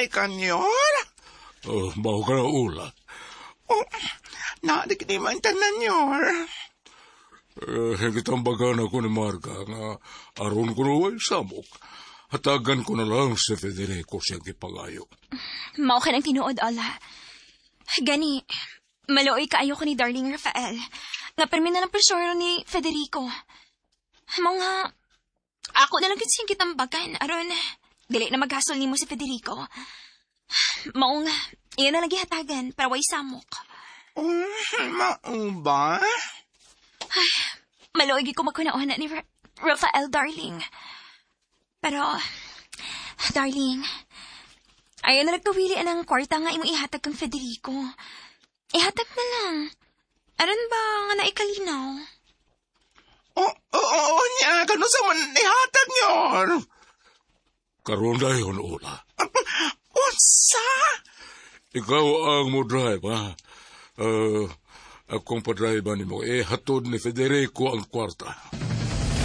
Maluoy ka, Nyor. Oh, mao ka na, Ula. Oh, nadik man tanan, Nyor. Eh, gitambagan ako ni Marga nga aron ko na samok. Hatagan ko na lang si Federico siyang gipangayo. Mao ka ng tinuod, Ola. Gani, maluoy kaayo ko ni Darling Rafael. Nga permi na lang presyoro ni Federico. Mao nga, ako na lang gyud siyang gitambagan. Aron, dili na maghasol nimo si Federico. Mao nga, iya na lang gihatagan para way samok. Oh, mao ba? Maluoy gyud ko maghuna-huna ni Rafael, darling. Pero, darling, ayaw na nagkawili ang kwarta nga imong ihatag kang Federico. Ihatag na lang. Aron ba nga naikalinaw? Oh, niya, kano sa man ihatag, Nyor? Karon dayon, Ula. Unsa? Ikaw ang mo drive, ha? Akong pa-drive nimo. Eh, hatod ni Federico ang kwarta.